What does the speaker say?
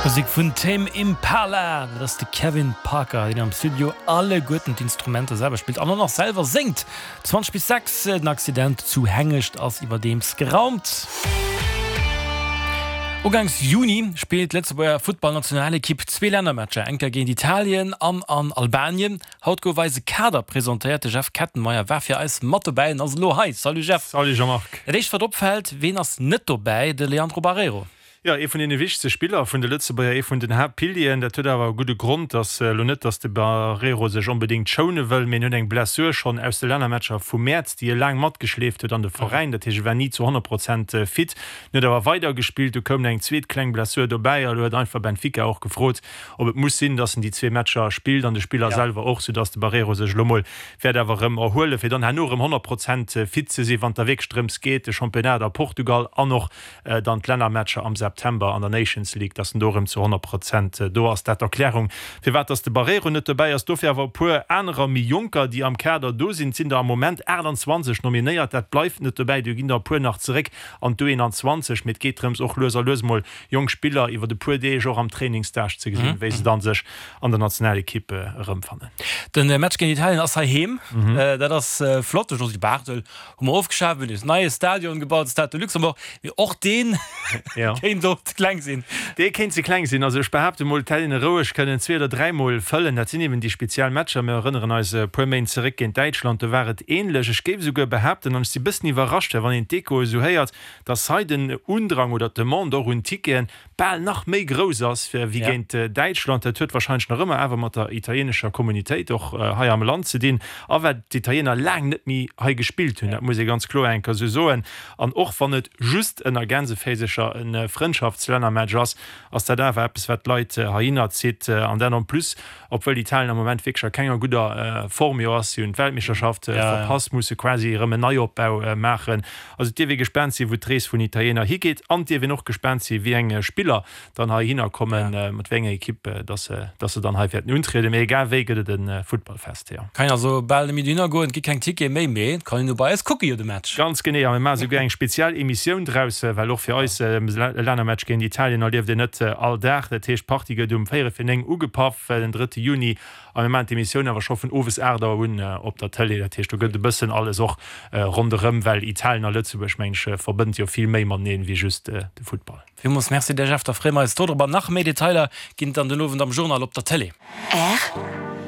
Musek vun Tame Impala, dat ass de Kevin Parker, deen am Studio alleguerten d'Instrumenter selwer spillt an och nach selwer séngt. 20 bis 6, Den Accident zu Hengescht ass iwwerdeems geraumt. Uganks Juni spillt d'Lëtzebuerger Futtballnationalekipp zwee Lännermatcher, eng Kéier géint Italien an an Albanien. Haut gouf eise Kader presentéiert. De Jeff Kettenmeyer war fir eis mat dobäi an ass elo hei. Salut Jeff. Salut Jean-Marc. Dat éischt wat opfält, ween ass net dobäi? De Leandro Barreiro. Jo, ee vun deene wichtegste Spiller vun de Lëtzebuerger, ee vun den Haaptpilieren. Dat huet awer e gudde Grond, dass elo net, dass de Barreiro sech onbedéngt schoune wëll, mee en huet eng Blessur schonn aus de Lännermatcher vum Mäerz, déi e laang matgeschleeft huet an de Veräin. Dat heescht, e war ni zu 100 Prozent fit. En huet awer weidergespillt, du koum eng zweet kleng Blessur dobäi a lo huet einfach Benfica och gefrot, ob et muss sinn, dass en déi zwee Matcher spillt an de Spiller selwer och, soudass de Barreiro sech elo mol wäert awer erëm erhuelen, fir dann herno erëm 100 Prozent fit ze sinn, wann et da wierklech drëms geet, de Championnat a Portugal an och dann d'Lännermatcher am September an der Nations League, dass en do erëm zu 100 Prozent do ass. Dat d'Erklärung, firwat dass de Barreiro net dobäi ass. Dofir awer e puer anerer méi Jonker, déi am Kader do sinn. Et sinn der am Moment 28 nominéiert, dat bleift net dobäi, do ginn der e puer nach zeréck an d'U21, mee et geet drëms, och lues a lues mol jonk Spiller iwwert e puer Deeg och am Trainingsstage ze gesinn, wéi se dann sech an der Nationalekipp erëmfannen. De Match géint Italien ass heiheem, dat ass flott. De Josy Barthel hu mer ofgeschaf, mir hunn eis neie Stadion gebaut, de Stade de Luxembourg, mee och dee kéint och ze kleng sinn. Dee kéint ze kleng sinn. Also ech behaapte mol, et hätt een e roueg kënnen zwee oder dräimol fëllen. Dat sinn eben déi speziell Matcher. Mir erënneren eis e puer Méint zeréck géint Däitschland, do war et änlech. Ech géif esouguer behaapten, an ech si bëssen iwwerrascht, well wann een d'Echoe esou héiert, dass hei den Undrang oder d'Demande och un Ticketen bal nach méi grouss ass wéi géint Däitschland. Dat huet wahrscheinlech nach ëmmer awer mat der italienescher Communautéit och hei am Land ze dinn a well d'Italiener laang net méi hei gespillt hunn. Dat muss ee ganz kloer eng Kéier esou soen. An och wann et just ënner Gänseféisercher e Frëndschaftslännermatch ass, ass dat awer eppes wat d'Leit heihinner zitt. An dat en plus Obwuel Italien am Moment wierklech a kenger gudder Form jo ass, si hunn d'Weltmeeschterschaft verpasst, musse quasi erëm en Neiopbau maachen. Also et dierf ee gespaant sinn, wou d'Rees vun Italiener higeet an et dierf een och gespaant sinn, wéi eng Spiller dann heihinner kommen, mat wéi enger Ekipp dass se dass se dann hei wäerten untrieden. Mee egal wéi gëtt et e Futtballfest, jo. Kann een also bal net méi dohinner goen, et gi keng Tickete méi, mee et kann een no bei eis kucke jo de Match. Ganz genee, a mir maache souguer eng speziell Emissioun draus, well och fir eis e Lännermatch géint Italien erlieft een net all Dag. Dat heescht, d'Partie gëtt um véierel fir 9 ugepaff, den drëtte Juni, a mir maachen d'Emissioun awer scho vun owes 8 Auer un op der Tëlee. Dat heescht, do gëtt e bëssen alles och ronderëm, well Italien a Lëtzebuerg, meng ech, verbënnt jo vill méi mateneen wéi just de Futtball. Villmools Merci dir Jeff, da freeë mer eis dodrop an nach méi Detailer ginn et dann den Owend am Journal op der Tëlee. R.